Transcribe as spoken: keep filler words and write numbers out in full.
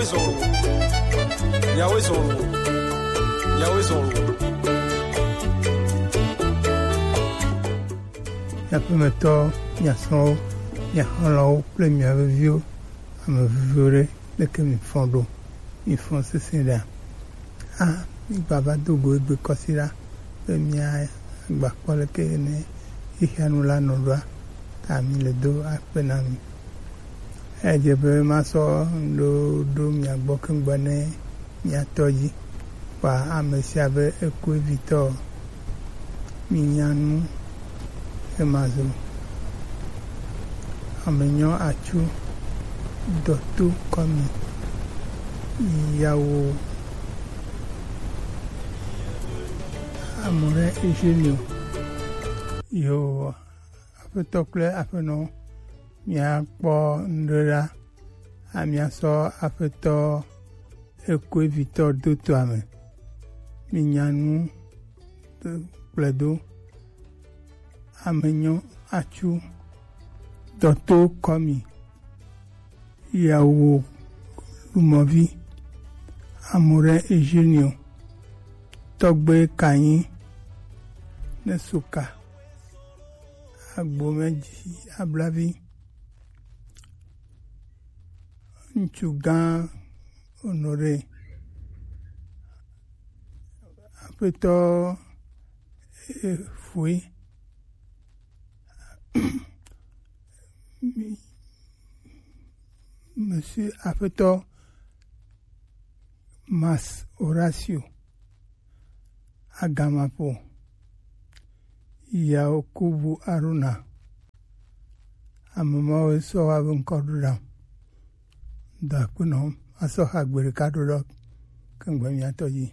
Yahweh zɔn lo. Yahweh zɔn lo. Miaƒemetɔ, miasrɔ̃wo, miaxlɔ̃wo kple mia veviwo, ame veviwo ɖe, leke mifɔ ɖo? Mifɔ sesẽ ɖea? A, migbava do go egbe kɔsiɖa be miagbakpɔ leke ne xexea nu la nɔ ɖoa, ta mi le do akpe na mi. Edze be masɔ ŋɖo ɖo mia gbɔ keŋ gbe ne mia tɔ dzi. Kpa ame sia be eku evitɔ. Minya nu ema zo. Ame nyɔ atsu dɔto kɔmi yawo amore ejenio. Yo, aƒetɔ kple aƒenɔ, miakpɔ ŋɖe ɖa. Amia sɔ aƒetɔ eku evitɔ do toa me. Minya nu kplɔe do. Ame nyɔ atsu dɔto kɔmi yawo lumɔvi amore ejenio tɔgbe kanyi ne suka agbomedzi ablavi ŋutsu gã Honoré aƒetɔ Efue Monsieur aƒetɔ Mas Horacio Agamapo, Yakubu Aruna, ame mawo sɔ wa be ŋkɔ ɖo ɖam. Da akpe nɔ asɔ ha gbe ɖeka ɖo ɖɔ keŋgbe miatɔ dzi.